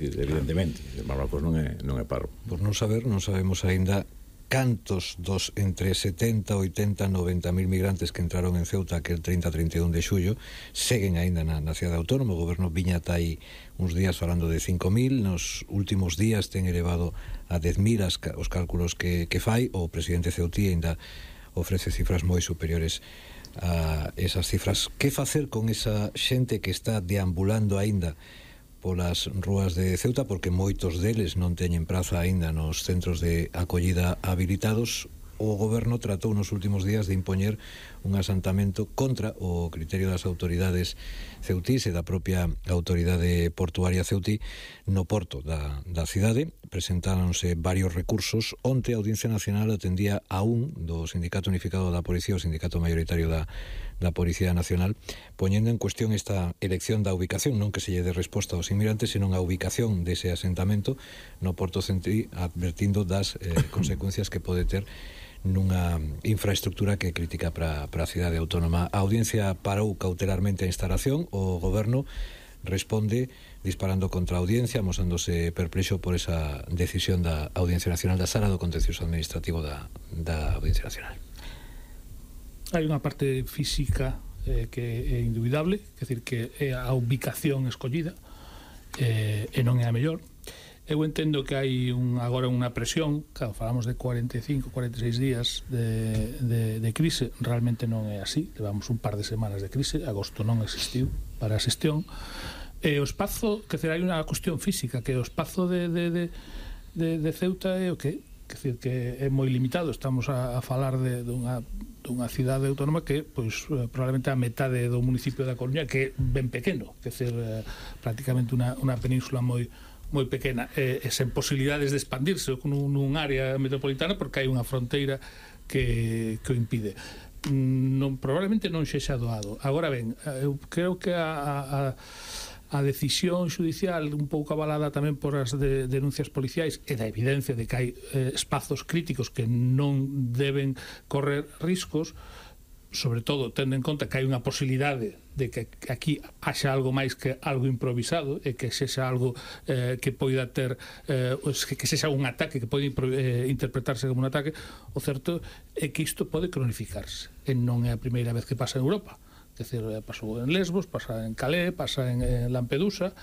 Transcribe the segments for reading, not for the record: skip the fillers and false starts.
Evidentemente, Marrocos non é paro. Por non sabemos aínda cantos dos entre 70, 80, 90 mil migrantes que entraron en Ceuta aquel 30-31 de xullo seguen aínda na cidade autónoma. O goberno viña ata aí uns días falando de 5.000, nos últimos días ten elevado a 10.000 os cálculos que fai. O presidente ceutí aínda ofrece cifras moi superiores a esas cifras. Que facer con esa xente que está deambulando aínda polas rúas de Ceuta, porque moitos deles non teñen praza aínda nos centros de acollida habilitados? O goberno tratou nos últimos días de impoñer un asantamento contra o criterio das autoridades ceutís e da propia autoridade portuaria ceutí no porto da cidade. Presentáronse varios recursos. Onte a Audiencia Nacional atendía a un do Sindicato Unificado da Policía, o sindicato mayoritario da Policía Nacional, poñendo en cuestión esta elección da ubicación, non que se lle dé resposta aos inmigrantes, senón a ubicación dese asentamento no porto ceutí, advertindo das consecuencias que pode ter nunha infraestructura que é crítica para a cidade autónoma. A audiencia parou cautelarmente a instalación. O goberno responde disparando contra a audiencia, amosándose perplexo por esa decisión da Audiencia Nacional, da Sala do Contencioso Administrativo da Audiencia Nacional. Hai unha parte física que é indubidable, é dicir, que é a ubicación escollida e non é a mellor. Eu entendo que hai agora unha presión, claro, falamos de 45, 46 días de crise, realmente non é así, levamos un par de semanas de crise, agosto non existiu para a xestión, e o espazo, que hai unha cuestión física, que o espazo de Ceuta é o que é moi limitado. Estamos a falar dunha cidade autónoma que, pois, probablemente a metade do municipio da Coruña, que é ben pequeno, que é prácticamente unha península moi pequena, e sen posibilidades de expandirse nun área metropolitana, porque hai unha fronteira que o impide. Probablemente non sexa doado. Agora ben, eu creo que a decisión judicial, un pouco avalada tamén por as denuncias policiais e da evidencia de que hai espazos críticos que non deben correr riscos, sobre todo tendo en conta que hai unha posibilidade de que aquí haxa algo máis que algo improvisado, e que sexa algo que poida ter que sexa un ataque que pode interpretarse como un ataque. O certo é que isto pode cronificarse, e non é a primeira vez que pasa en Europa. É dicir, pasou en Lesbos, pasa en Calais, pasa en Lampedusa.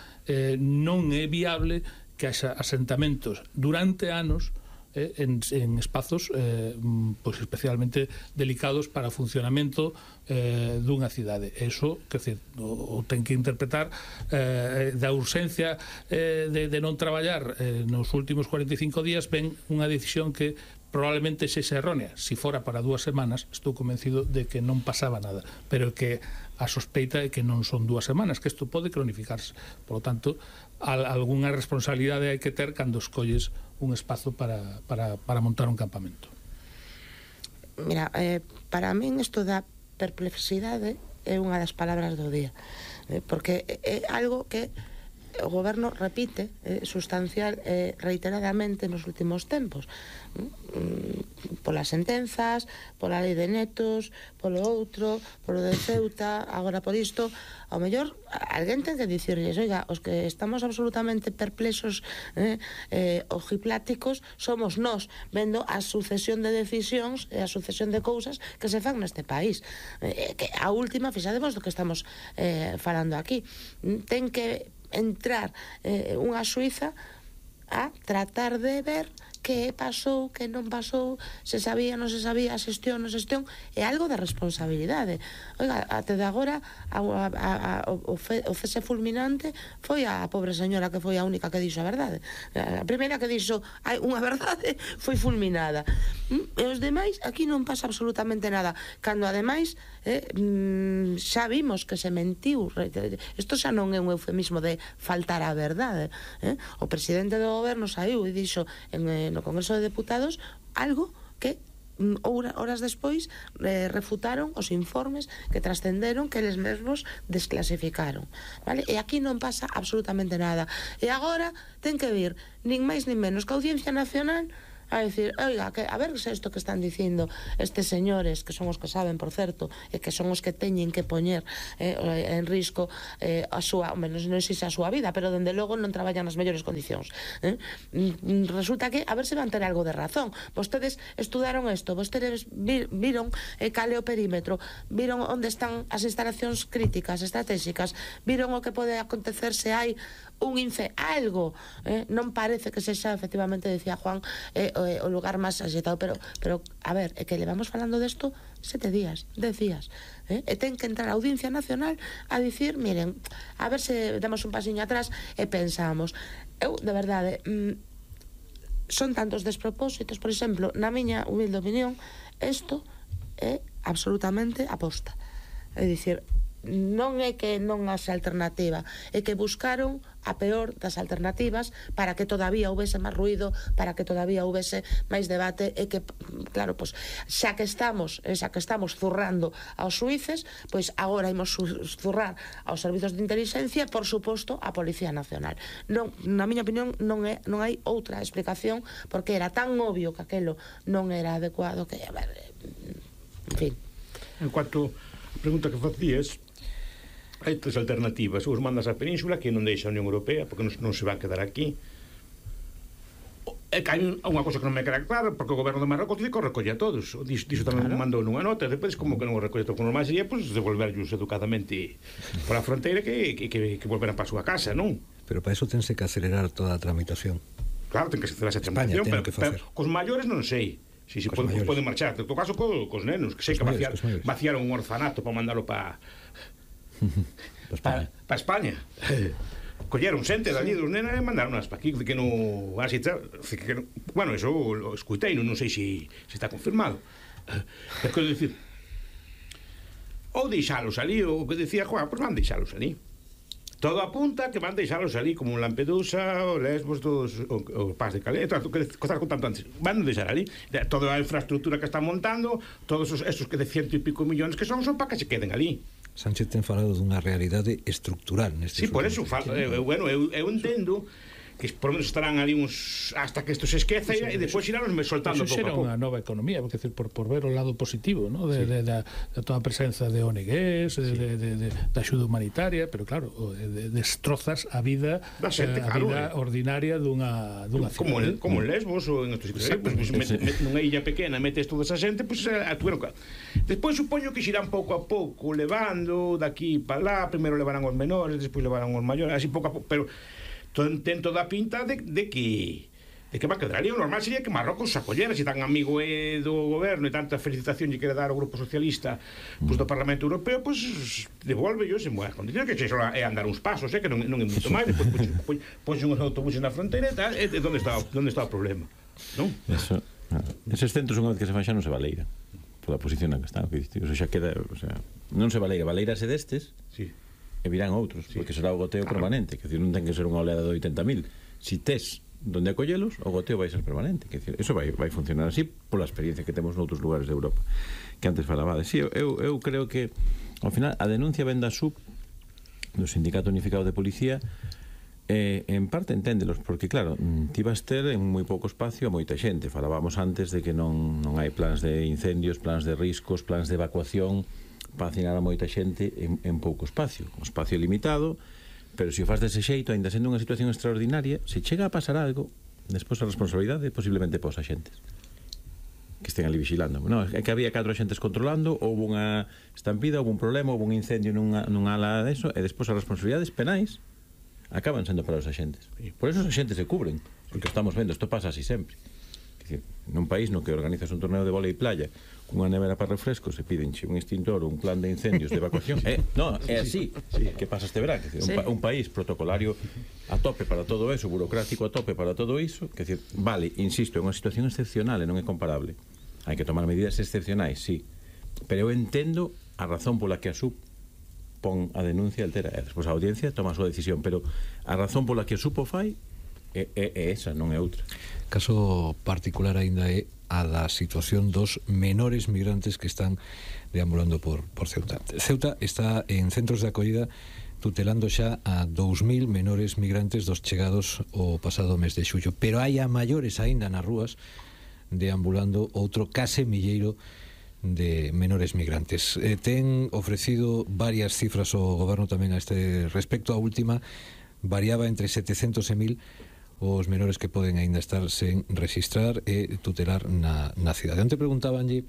Non é viable que haxa asentamentos durante anos en espazos pois especialmente delicados para o funcionamento dunha cidade. Eso, quer dizer, o ten que interpretar da urxencia de non traballar nos últimos 45 días. Ven unha decisión que probablemente sexa errónea. Si fora para 2 semanas, estou convencido de que non pasaba nada, pero que a sospeita é que non son 2 semanas, que isto pode cronificarse. Por lo tanto, algunha responsabilidade hai que ter cando escolles un espazo para montar un campamento. Mira, para min isto da perplexidade é unha das palabras do día, porque é algo que o goberno repite sustancial reiteradamente nos últimos tempos, polas sentenzas, pola lei de netos, polo outro, polo de Ceuta, agora por isto. Ao mellor alguén ten que dicirles: oiga, os que estamos absolutamente perplexos, ojipláticos, somos nós, vendo a sucesión de decisións e a sucesión de cousas que se fan neste país, que a última, fixademos do que estamos falando aquí. Ten que entrar unha xuíza a tratar de ver que pasou, que non pasou, se sabía, non se sabía, a xestión, non xestión. É algo de responsabilidade. Oiga, até de agora o cese fulminante foi a pobre señora que foi a única que dixo a verdade. A primeira que dixo hai unha verdade foi fulminada, e os demais aquí non pasa absolutamente nada, cando ademais xa vimos que se mentiu. Isto xa non é un eufemismo de faltar a verdade. O presidente do goberno saiu e dixo no Congreso de Deputados algo que horas despois refutaron os informes que trascenderon, que eles mesmos desclasificaron, vale? E aquí non pasa absolutamente nada. E agora ten que vir nin máis nin menos que a Audiencia Nacional a decir, oiga, que, a ver se isto que están dicindo estes señores, que son os que saben, por certo, e que son os que teñen que poñer en risco a súa, menos non sei se a súa vida, pero dende logo non traballan nas mellores condicións. Resulta que, a ver se van ter algo de razón. Vostedes estudaron isto, vostedes viron cal é o perímetro, viron onde están as instalacións críticas, estratégicas, viron o que pode acontecer se hai un algo, non parece que sexa, efectivamente, decía Juan, o lugar máis axitado, pero a ver, é que levamos falando desto 7 días, 10 días, e ten que entrar a Audiencia Nacional a dicir, miren, a ver se damos un pasiño atrás e pensamos. Eu, de verdade, son tantos despropósitos, por exemplo, na miña humilde opinión, isto é absolutamente aposta, é dicir, non é que non haxe alternativa, é que buscaron a peor das alternativas para que todavía houvese máis ruido, para que todavía houvese máis debate, e que, claro, pois, xa que estamos zurrando aos xuíces, pois agora imos zurrar aos servizos de inteligencia, por suposto, a Policía Nacional. Non, na miña opinión, non hai outra explicación, porque era tan obvio que aquelo non era adecuado que, a ver, en fin. En cuanto a pregunta que facías, hai 3 alternativas. Os mandas á Península, que non deixa a Unión Europea, porque non se va a quedar aquí. É que hai unha cosa que non me queda clara, porque o goberno de Marrocos dice que o recolle a todos. Diso tamén mandou nunha nota. Depois, como que non o recolle todo, normal sería, pues, devolverlos educadamente por a fronteira que volveran para a súa casa, non? Pero para eso tense que acelerar toda a tramitación. Claro, ten que acelerar esa tramitación, pero cos maiores non sei. Si poden marchar. En todo caso, cos nenos, que sei que vaciaron un orfanato para mandalo para España. Colleron xente dali dos nenas e mandaron para aquí, que non, bueno, eso o escuitei, non sei se está confirmado. É que decir, ou deixalos ali, o que decía Juan, pois van deixalos ali. Todo apunta que van deixalos ali, como Lampedusa, o Lesbos, todos o Paz de Calais, que estás contando antes, van deixar ali. Toda a infraestructura que están montando, todos esos que de 100 e pico millóns que son para que se queden ali. Sánchez ten falado dunha realidade estructural neste. Sí, por eso bueno, eu entendo que por menos estarán ali uns hasta que isto se esqueza e depois irán soltando pouco a pouco. Unha nova economía, porque decir, por ver o lado positivo, ¿no? de toda a presenza de ONGs, de axuda humanitaria, pero claro, destrozas a vida da xente, a vida ordinaria dunha cidade. Como en Lesbos ou en estos sitios, nunha illa pequena metes toda esa xente, pois despois supoño que xirán pouco a pouco levando daqui para lá, primeiro levarán os menores, despois levarán os maiores, así pouco a pouco, pero ten toda a pinta de que va a quedar ali. O normal sería que Marrocos se acollera, se tan amigo do goberno e tanta felicitación lle quere dar ao Grupo Socialista do Parlamento Europeo, pois devolve-os en boas condicións, que só é andar uns pasos, que non é moito máis, depois pois uns autobuses na fronteira e tal, e onde está o problema, non? Eses centros, unha vez que se fan, xa non se valeira pola posición na que están, o xa queda, non se valeirase destes, sí, e virán outros, sí, porque será o goteo permanente, que decir, non ten que ser unha oleada de 80.000. Si tes donde acollelos, o goteo vai ser permanente, que decir, eso vai funcionar así pola experiencia que temos noutros lugares de Europa, que antes falabades. Sí, eu creo que ao final a denuncia ven da SUP, do Sindicato Unificado de Policía, en parte enténdelos, porque claro, ti vas ter en moi pouco espacio a moita xente. Falábamos antes de que non hai plans de incendios, plans de riscos, plans de evacuación para vacinar a moita xente en pouco espacio, un espacio limitado, pero se o faz dese xeito, ainda sendo unha situación extraordinaria, se chega a pasar algo, despois a responsabilidade posiblemente pos axentes que estén ali vigilando. No, é que había 4 axentes controlando, houve unha estampida, houve un problema, houve un incendio nunha ala deso, e despois as responsabilidades penais acaban sendo para os axentes. Por eso os axentes se cubren, porque estamos vendo, isto pasa así sempre. Nun país no que organizas un torneo de vólei playa cunha nevera para refrescos e pídenche un extintor ou un plan de incendios de evacuación, é así que pasa este verán, un país protocolario a tope para todo eso, burocrático a tope para todo iso, que decir, vale, insisto, é unha situación excepcional e non é comparable, hai que tomar medidas excepcionais, sí, pero eu entendo a razón pola que a SUP pon a denuncia altera, e despois a audiencia toma a súa decisión, pero a razón pola que a SUP o fai é esa, non é outra. Caso particular aínda é a da situación dos menores migrantes que están deambulando por Ceuta. Ceuta está en centros de acollida tutelando xa a 2.000 menores migrantes dos chegados o pasado mes de xullo, pero hai a maiores aínda nas rúas deambulando outro case milleiro de menores migrantes. Ten ofrecido varias cifras o goberno tamén a este respecto. A última variaba entre 700 e 1000 os menores que poden aínda estar sen registrar e tutelar na cidade. Onte preguntabanlle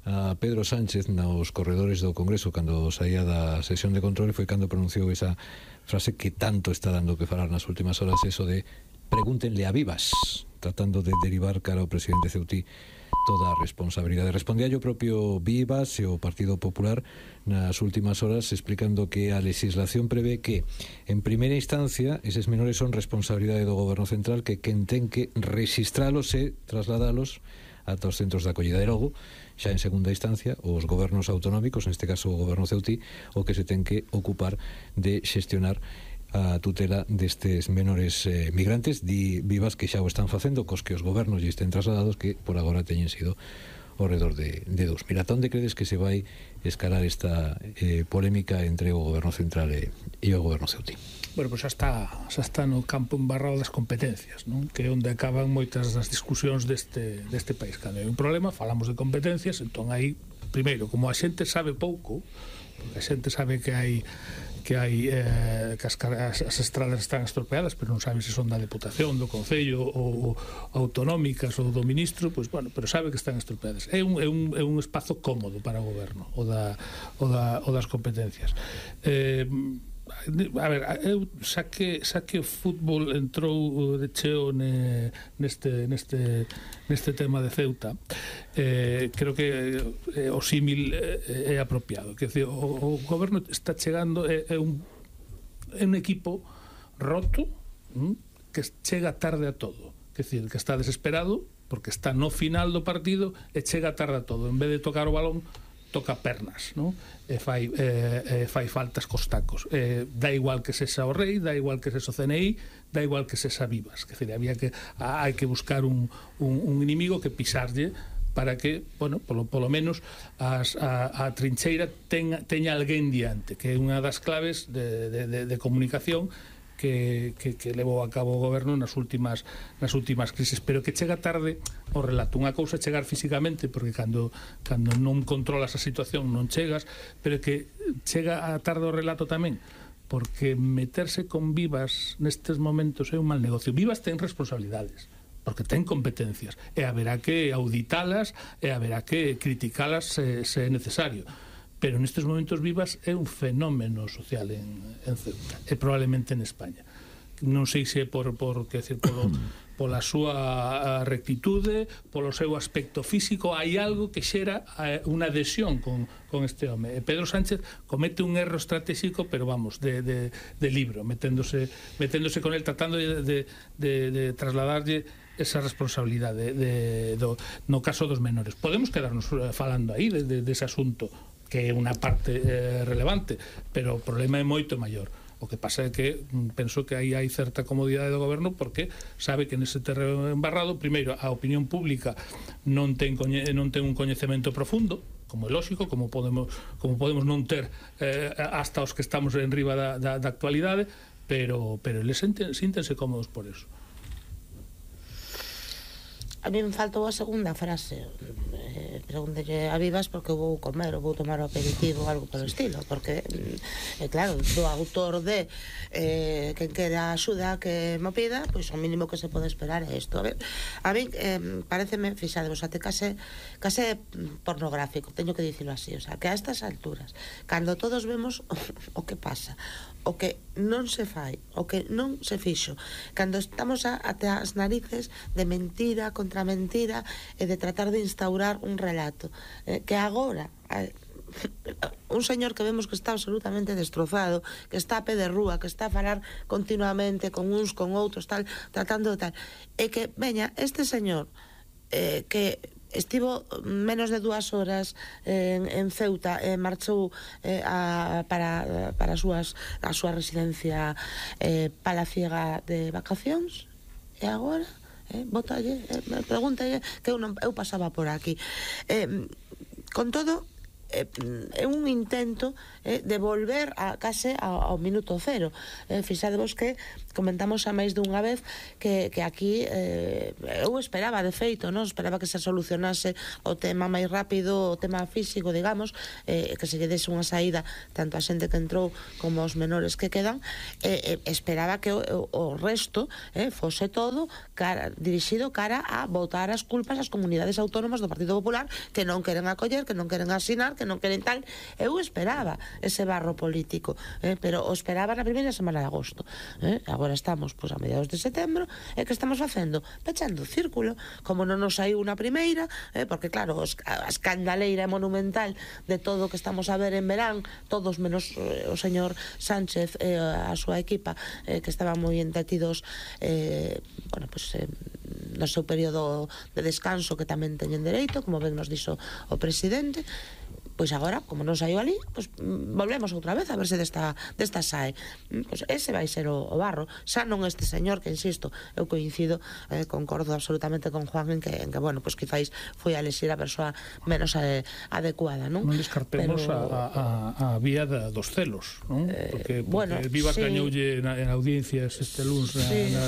a Pedro Sánchez nos corredores do Congreso cando saía da sesión de control, foi cando pronunciou esa frase que tanto está dando que falar nas últimas horas, eso de pregúntenle a Vivas, tratando de derivar cara ao presidente Ceutí toda a responsabilidade. Respondía o propio Vivas e o Partido Popular nas últimas horas explicando que a legislación prevé que en primeira instancia eses menores son responsabilidade do Goberno Central, que quen ten que registralos e trasladalos ata os centros de acollida. E logo, xa en segunda instancia, os gobernos autonómicos, neste caso o Goberno Ceutí, o que se ten que ocupar de xestionar a tutela destes menores migrantes. Di Vivas que xa o están facendo cos que os gobernos lle estén trasladados, que por agora teñen sido ao redor de 2.000. Ata onde credes que se vai escalar esta polémica entre o Goberno Central e o Goberno Ceutí? Bueno, pois xa está no campo embarrado das competencias, non? Que é onde acaban moitas das discusións deste país. Cando hai un problema, falamos de competencias, entón aí, primeiro, como a xente sabe pouco, porque a xente sabe que as estradas están estropeadas, pero non sabe se son da Deputación, do Concello ou autonómicas ou do Ministro, pois bueno, pero sabe que están estropeadas. É un espazo cómodo para o goberno, o das competencias. A ver, eu xa que o fútbol entrou de cheo neste tema de Ceuta, creo que o símil é apropiado. Quer dizer, o goberno está chegando, é un equipo roto, que chega tarde a todo. Quer dizer, que está desesperado porque está no final do partido e chega tarde a todo. En vez de tocar o balón, toca pernas, non? E fai faltas cos tacos. Dá igual que sexa o Rei, dá igual que sexa o CNI, dá igual que sexa Vivas. Que hai que buscar un inimigo que pisarlle para que, bueno, polo menos a trincheira teña alguén diante, que é unha das claves de comunicación que levou a cabo o goberno nas últimas crisis, pero que chega tarde o relato. Unha cousa é chegar físicamente, porque cando non controlas a situación non chegas, pero que chega a tarde o relato tamén, porque meterse con Vivas nestes momentos é un mal negocio. Vivas ten responsabilidades, porque ten competencias, e haberá que auditalas e haberá que criticalas se é necesario. Pero nestes momentos Vivas é un fenómeno social en Ceuta, e probablemente en España. Non sei se pola súa rectitude, polo seu aspecto físico, hai algo que xera unha adhesión con este home. Pedro Sánchez comete un erro estratégico, pero vamos, de libro, meténdose con el, tratando de trasladarlle esa responsabilidade no caso dos menores. Podemos quedarnos falando aí dese asunto, que é unha parte relevante, pero o problema é moito maior. O que pasa é que penso que aí hai certa comodidade do goberno, porque sabe que nese terreno embarrado, primeiro, a opinión pública non ten un coñecemento profundo, como é lógico, como podemos non ter hasta os que estamos en riba da actualidade, pero eles síntense cómodos por eso. A mí me faltou a segunda frase. Pregúntelle a Vivas porque vou comer ou vou tomar o aperitivo ou algo polo estilo, porque claro, do autor de quen quera axuda que me pida, pois o mínimo que se pode esperar é isto. A mí pareceme, fixadevos, até case pornográfico, teño que dicilo así, o sea, que a estas alturas, cando todos vemos o que pasa, o que non se fai, o que non se fixo, cando estamos até as narices de mentira contra mentira e de tratar de instaurar un relato, que agora un señor que vemos que está absolutamente destrozado, que está a pé de rúa, que está a falar continuamente con uns, con outros, tal, tratando de tal, e que veña este señor que estivo menos de 2 horas en Ceuta e marchou para a súa residencia palaciega de vacacións, e agora pregúntalle que eu pasaba por aquí. Con todo, é un intento de volver case ao minuto cero. Fixadevos que comentamos a máis dunha vez que aquí eu esperaba, de feito, non esperaba que se solucionase o tema máis rápido, o tema físico, digamos, que se lle dese unha saída tanto a xente que entrou como aos menores que quedan. Esperaba que o resto fose todo dirixido cara a botar as culpas ás comunidades autónomas do Partido Popular que non queren acoller, que non queren asinar, que non queren tal. Eu esperaba ese barro político, pero o esperaba na primeira semana de agosto. Agora estamos a mediados de setembro, e que estamos facendo? Pechando o círculo, como non nos saiu na primeira, porque claro, a escandaleira monumental de todo o que estamos a ver en verán, todos menos o señor Sánchez e a súa equipa, que estaban moi entretidos no seu período de descanso, que tamén teñen dereito, como ben nos dixo o presidente. Pois agora, como non saiu ali, pois volvemos outra vez a ver se desta sae. Pois ese vai ser o barro. Xa non este señor, que insisto, eu coincido, concordo absolutamente con Juan en que bueno, pois quizáis foi a elexir a persoa menos adecuada, non? Non descartemos a vía dos celos, non? Porque Vivas gañoulle en audiencias este luns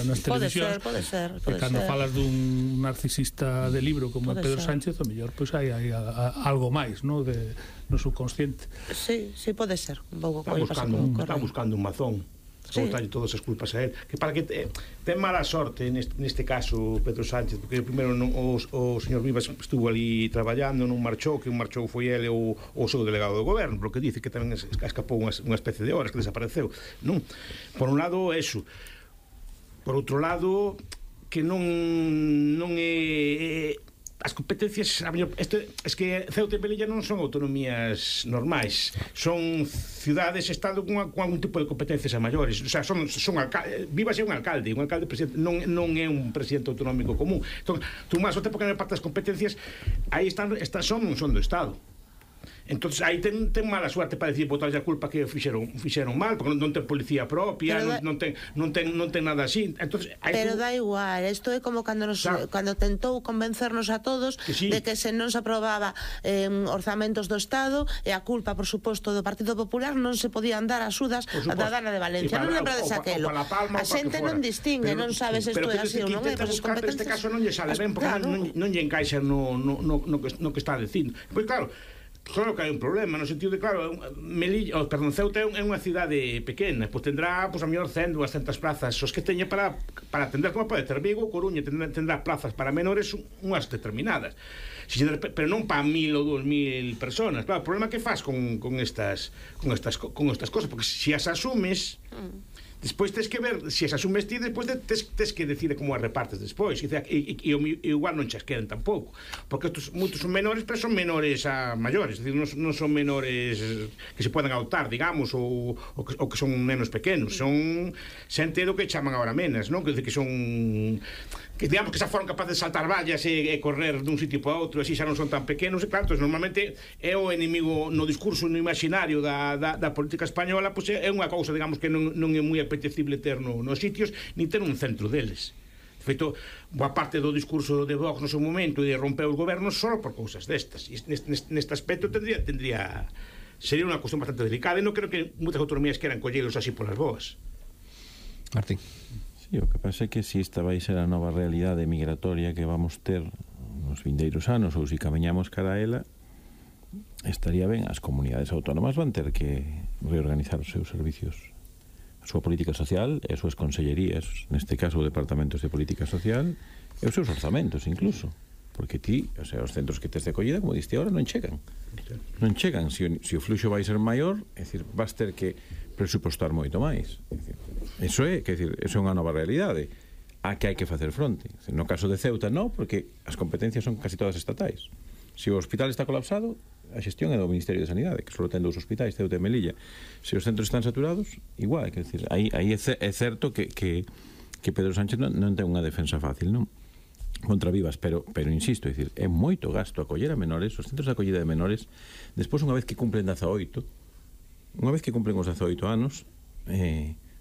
nas televisións. Pode ser. Cando falas dun narcisista de libro como Pedro Sánchez, o mellor pois hai algo máis, non? No subconsciente. Sí, pode ser. Está buscando un mazón. Botarlle todas as culpas a él, que para que ten mala sorte neste caso Pedro Sánchez, porque primeiro o señor Vivas estuvo ali traballando, non marchou, que un marchou foi ele o seu delegado do goberno, porque dice que tamén escapou unha especie de horas, que desapareceu, non? Por un lado, eso. Por outro lado, que non é as competencias, es que Ceuta e Melilla non son autonomías normais, son ciudades, estado con algún tipo de competencias a maiores, o sea, son Vivas é un alcalde presidente, non é un presidente autonómico común. Entón, tú máis o tempo que non parte das competencias, aí son do Estado. Entonces aí ten mala suerte para decir botarlle a culpa que fixeron mal, porque non ten policía propia, non ten nada así. Entonces, pero da igual, isto é como cando tentou convencernos a todos de que se non se aprobaba orzamentos do Estado, e a culpa, por suposto, do Partido Popular, non se podían dar axudas da Dana de Valencia. Non lembrades aquelo. A xente non distingue, non sabes isto é así ou non é. Neste caso non lle sale ben, porque non lle encaixa no que está dicindo. Pois claro que hai un problema, no sentido de, claro, Ceuta é unha cidade pequena, pois tendrá, a mellor 100, 200 plazas, os que teña para atender, como pode ter Vigo, Coruña, tendrá plazas para menores unhas determinadas, pero non para 1000 ou 2000 personas. Claro, o problema que faz con estas cosas, porque se as asumes, despois tens que ver se as asumes ti, despois tens que decide como as repartes despois, e igual non chas queden tampouco, porque moitos son menores, pero son menores a maiores, é dicir, non son menores que se poden adoptar, digamos, ou que son nenos pequenos, son xente do que chaman agora menas, non? Que son, que digamos que xa foron capaces de saltar vallas e correr dun sitio para outro, así xa non son tan pequenos, e claro, normalmente é o enemigo no discurso, no imaginario da política española, pois é unha cousa, digamos, que non é moi apetecible ter nos sitios, ni ter un centro deles. De feito, boa parte do discurso de Vox no seu momento e de romper os gobernos só por cousas destas, e neste aspecto sería unha cuestión bastante delicada, e non creo que moitas autonomías queran collelos así polas boas. Martín. Sí, o que pasa é que si esta vai ser a nova realidade migratoria que vamos ter nos vindeiros anos, ou se camiñamos cara a ela, estaría ben, as comunidades autónomas van ter que reorganizar os seus servicios, a súa política social e as súas consellerías, neste caso departamentos de política social, e os seus orzamentos incluso, porque os centros que tes de acollida, como diste agora, non chegan, se o fluxo vai ser maior, é dicir, vas ter que presupostar moito máis. Eso é unha nova realidade a que hai que facer fronte. No caso de Ceuta non, porque as competencias son casi todas estatais. Se o hospital está colapsado, a xestión é do Ministerio de Sanidade, que só ten 2 hospitais, Ceuta e Melilla. Se os centros están saturados, igual, aí é certo que Pedro Sánchez non ten unha defensa fácil, non? Contra Vivas, pero insisto, é moito gasto acoller a menores, os centros de acollida de menores, despois unha vez que cumplen 18, os 18 anos,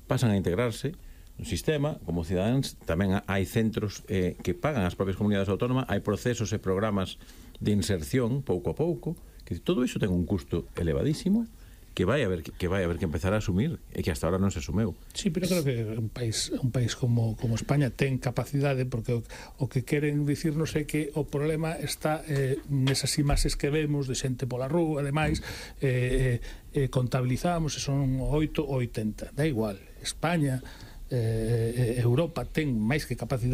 pasan a integrarse no sistema como cidadáns. Tamén hai centros que pagan as propias comunidades autónomas, hai procesos e programas de inserción pouco a pouco Que todo iso ten un custo elevadísimo que vai haber que empezar a asumir e que hasta ahora non se asumeu. Sí, pero creo que un país como España ten capacidade, porque o que queren dicirnos é que o problema está nesas imaxes que vemos de xente pola rúa, ademais contabilizamos e son 8 ou 80, da igual. España, Europa ten máis que capacidade